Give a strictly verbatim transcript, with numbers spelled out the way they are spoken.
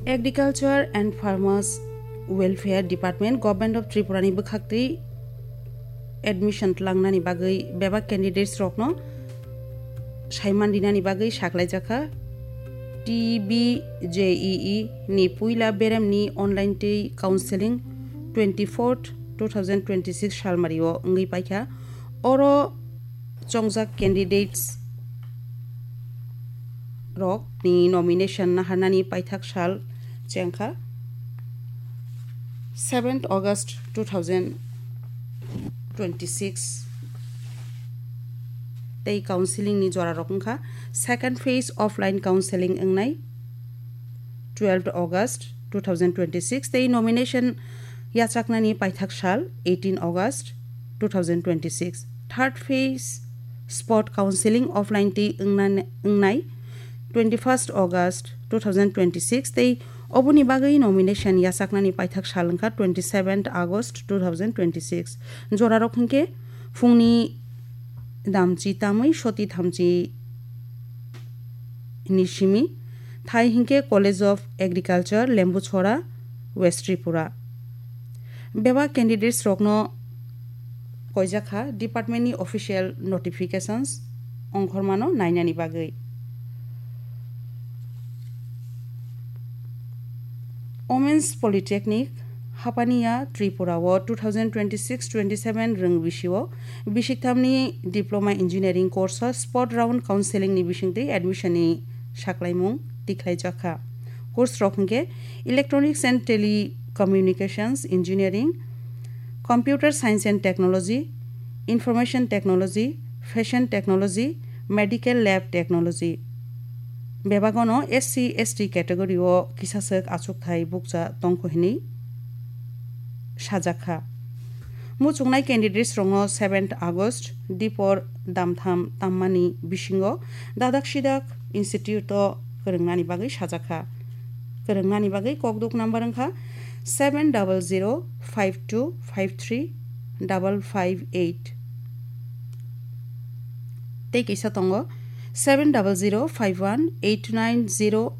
Agriculture and Farmers Welfare Department, Government of Tripura ni bwkhaktwi admission tlangnani bagwi bebak candidates rokno saiman rinani bagwi saklaijakha. T B J E E ni puila beremni online tei counseling twenty-fourth two thousand twenty-six salmario wngwi paikha. Oro chongjak candidates rok ni nomination naharnani paithak sal chengkha seventh August two thousand twenty-six tei counseling ni jora rok wngkha second phase offline counseling wngnai twelfth August two thousand twenty-six tei nomination yachaknani paithak sal eighteen August two thousand twenty-six. Third phase spot counseling offline tei wngnan-, wngnai twenty-first August two thousand twenty-six tei oboni bagwi nomination yachaknani paithak sal wngkha twenty-seventh August two thousand twenty-six. Jorarok hinkhe phungni damchi tamwi soti thamchi ni simi thai hinkhe College of Agriculture, Lembuchhora, West Tripura. Bebak candidates rokno koijakha department ni official notifications ongkhormano nainani bagwi. Women's Polytechnic Hapania Tripura o two thousand twenty-six twenty-seven rwng bisio bisiktham ni diploma engineering course o spot round counseling ni bisingtwi admission ni saklaimung tikhlaijakha. Course rok hwnkhe Electronics and Telecommunications Engineering, Computer Science and Technology, Information Technology, Fashion Technology, Medical Lab Technology. Bebagono S C S T category o kisaswk achukthai bukcha tongkho hinwi sajakha. Muchungnai candidates rokno seventh August dipor damtham tammani bisingo dadak sidak institute o kwrwngnani bagwi sajakha. Kwrwngnani bagwi kokduk number wngkha seven double zero five two five three double five eight. Tei kisa tongo seven double zero five one eight nine zero